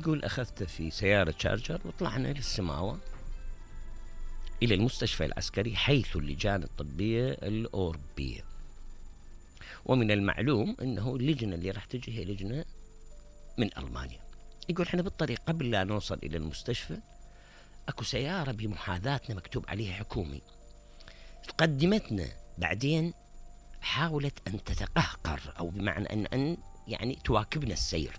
تقول أخذته في سيارة شارجر وطلعنا للسماوة إلى المستشفى العسكري حيث اللجان الطبية الأوروبية. ومن المعلوم أنه اللجنة اللي راح تجي هي لجنة من ألمانيا. يقول احنا بالطريق قبل لا نوصل إلى المستشفى أكو سيارة بمحاذاتنا مكتوب عليها حكومي، تقدمتنا بعدين حاولت أن تتقهقر أو بمعنى أن يعني تواكبنا السير،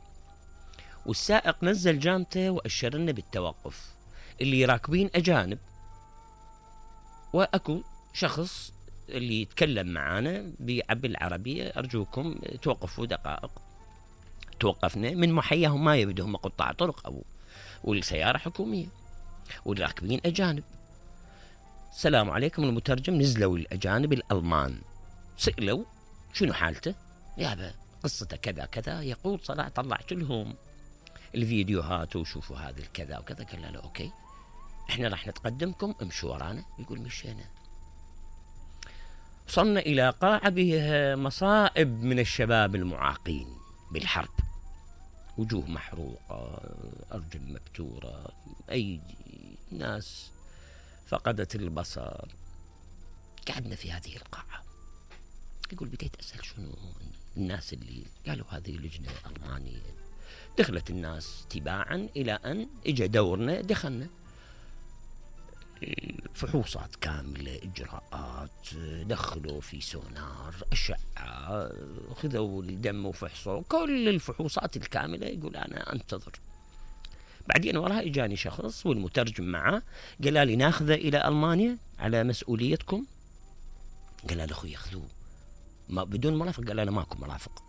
والسائق نزل جامته وأشر لنا بالتوقف. اللي راكبين أجانب، وأكو شخص اللي يتكلم معانا بالعربية أرجوكم توقفوا دقائق. توقفنا من محياهم ما يبدهم قطاع طرق أو والسيارة حكومية والراكبين أجانب. السلام عليكم المترجم. نزلوا الأجانب الألمان سئلوا شنو حالته، يابا قصته كذا كذا. يقول صراحة طلعت لهم الفيديوهات وشوفوا هذا الكذا وكذا. قال له أوكي احنا راح نتقدمكم امشوا ورانا. يقول مشينا، وصلنا إلى قاعة بها مصائب من الشباب المعاقين بالحرب، وجوه محروقة، أرجل مبتورة، أيدي، ناس فقدت البصر. قعدنا في هذه القاعة. يقول بديت أسأل شنو الناس اللي قالوا هذه لجنة ألمانية. دخلت الناس تباعا إلى أن إجا دورنا. دخلنا فحوصات كاملة، إجراءات، دخلوا في سونار، أشعة، خذوا الدم وفحصوا كل الفحوصات الكاملة. يقول أنا أنتظر. بعدين وراها إجاني شخص والمترجم معه، قال لي ناخذه إلى ألمانيا على مسؤوليتكم. قال له أخوي ياخذوه ما بدون مرافق. قال أنا ماكو مرافق،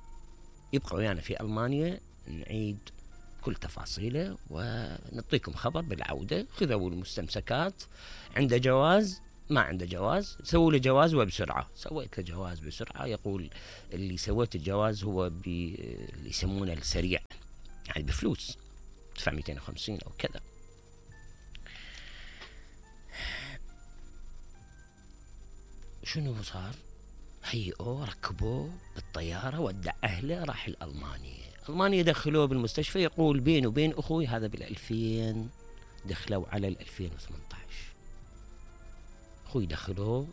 يبقى ويانا في ألمانيا نعيد كل تفاصيله ونعطيكم خبر بالعودة. خذوا المستمسكات، عنده جواز ما عنده جواز، سووا له جواز وبسرعة. سويت له جواز بسرعة. يقول اللي سويت الجواز هو اللي يسمونه السريع، يعني بفلوس دفع 250 أو كذا. شنو صار؟ هيئوه ركبوه بالطيارة ودع أهله راح الألمانيا. ألمانيا دخلوه بالمستشفى. يقول بيني وبين أخوي هذا بال2000 دخلوا على 2018. أخوي دخلوه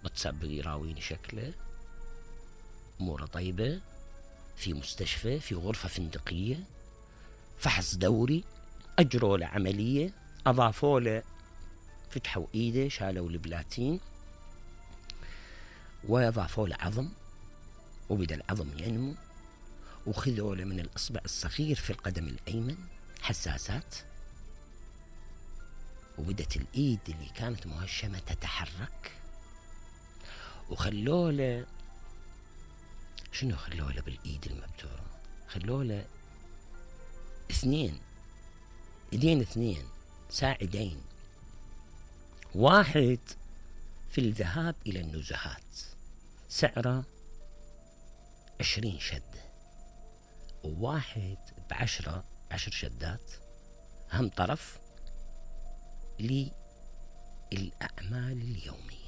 واتساب يراويني شكله أموره طيبة، في مستشفى في غرفة فندقية، فحص دوري، أجروا له عملية، أضافوا له فتحوا إيده، شالوا البلاتين وأضافوا له عظم، وبدأ العظم ينمو، وخذوا له من الإصبع الصغير في القدم الأيمن حساسات، وبدت الإيد اللي كانت مهشمة تتحرك. وخلوا له شنو؟ خلوا له بالإيد المبتورة، خلوا له ايدين اثنين ساعدين، واحد في الذهاب إلى النزهات سعره 20 شدة، وواحد ب10 شدات هم طرف للأعمال اليومية.